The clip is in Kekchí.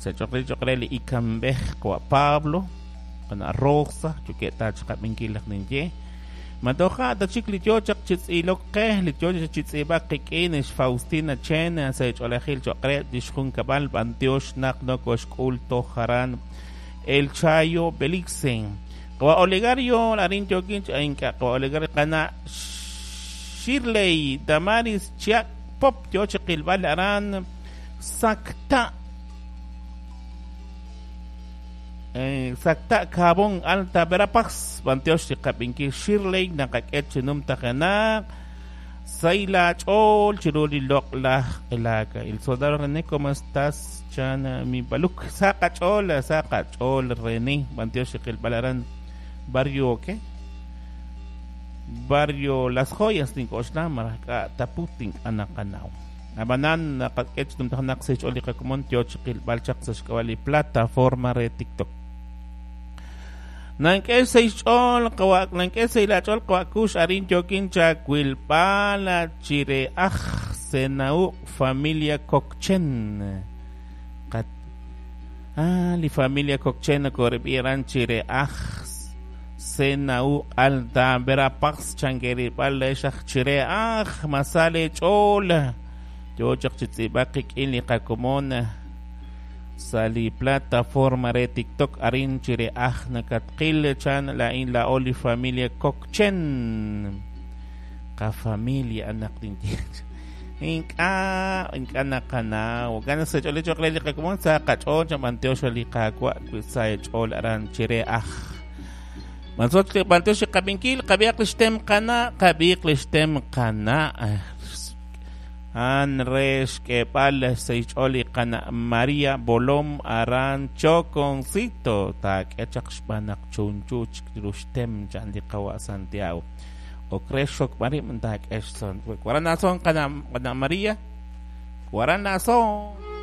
Sa' choq' re li ikanb'ej qawa' Pablo, qana' Rosa, yookeb' ta chiqab'inkil laj ninye. Ma toja' ta chik li yoo chaq chi tz'ilok qe, li yoo chaq chi tz'iib'ak qik'in, xFaustina Chen, sa' ch'oolejil choq' re lix junkab'al, b'antiox naq nokoxk'ul toj aran El Chayo Belice. Qawa' Olegario, arin yookin chi ink'a' qawa' Olegario, qana' Shirley Damaris Chiak Pop yoo chi qilb'al aran Sacta. Sacta Cabón Alta Verapaz, b'antiox li qab'inkil Shirley naqak'e chi numtajenaq Sayla ch'ool chiru li loq'laj q'elaak. El soldado René, ¿cómo estás? Chan mi baluk. Sa qach'ool, sa qach'ool René, b'antiox li qilb'al aran Barrio, ¿qué? Barrio Las Joyas tink'oxla malaj k'a' taput ink'a' naqanaw. Ab'anan naqak'e chi numtajenaq sa' xch'ool li qakomon yoo chi qilb'al chaq sa' xk'ab'a' li plataforma re TikTok. Nank'e sa' xch'ool qawa' nank'e sa' laach'ool qawa' Kux arin yookin chawilb'al chire aj Senau familia Kokchen. Qat ah, li familia Kokchen nokoreb'i aran chire aj Senau Alta Verapaz chankerilb'al leex aj chire aj masale ch'ool yoo chaq chi tz'iib'ak qik'in li qakomon sa' li plataforma re TikTok arin chire aj nakatqil chan laa'in laa'o li familia Kokchen. Qafamilia anak tinye. Ink'a' ink'a' naqanaw. Ganas sa ch'ool choq' re li qakomon sa qach'ool chan b'antiox li qaawa' wi sa ch'ool aran chire aj. Mansot li b'antiox li qab'inkil qab'iaq li xtem qana' qab'iq li xtem qana'. An re xk'eeb'al sa xch'ool li qana' María Bolom aran Choconcito taak'e chaq xb'aan naq chunchu chik ru xtem chan li qawa' Santiago. Ok re xokb'al rib' taak'e xson. Waran nason qana' qana' María. Waran nason.